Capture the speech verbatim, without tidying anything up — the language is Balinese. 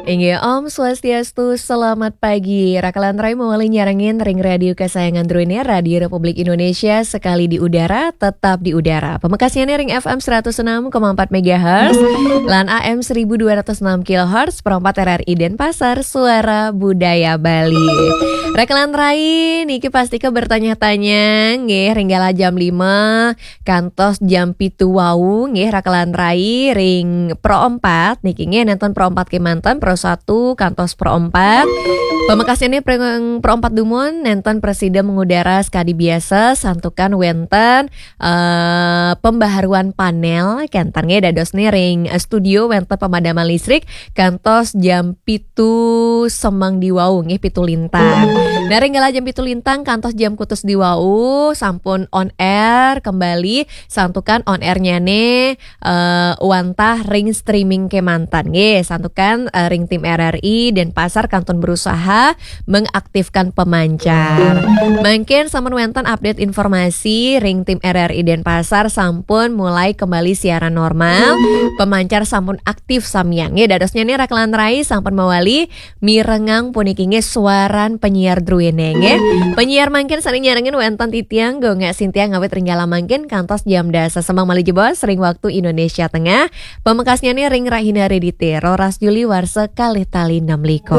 Inggih, Om Swastiastu, selamat pagi. Raka lan rai mawali nyarengin ring radio kesayangan druéné, Radio Republik Indonesia, sekali di udara, tetap di udara. Pamekasnyané ring F M seratus enam koma empat megahertz, lan A M seribu dua ratus enam kilohertz, pro empat R R I Denpasar, Suara Budaya Bali. Raka lan rai, niki pastika bertanya-tanya, nggih, ring galah jam lima, kantos jam pitu wau, nggih, raka lan rai ring pro empat niki, nggih, nénten pro empat kémanten, pro satu kantos pro empat. Pamekasnyané ring pro empat dumun, nénten prasida mengudara sakadi biasa, santukan wénten, eh, pembaharuan panel, kénten, nggih, dadosné ring, eh, studio wénten pemadaman listrik, kantos jam pitu semeng di wau, nggih, pitu lintang. Nah, ring galah jam pitu lintang kantos jam kutus di wau, sampun on air kembali, santukan on airnyané, eh, wantah ring streaming kémanten, nggih, santukan, eh, ring tim R R I Denpasar kantun berusaha mengaktifkan pemancar. Mangkin sampun wénten update informasi ring tim R R I Denpasar sampun mulai kembali siaran normal, pemancar sampun aktif samian, nggih. Dadosnyané raka lan rai sampun mawali mirengang puniki, nggih, suaran penyiar druéné, nggih. Penyiar mangkin sané nyarengin wénten titiang, Gung Sintia, ngawit ring galah mangkin kantos jam dasa semeng malih jebos ring waktu Indonesia Tengah. Pamekasnyané ring rahina Redité, roras Juli warsa kalih tali enam likur.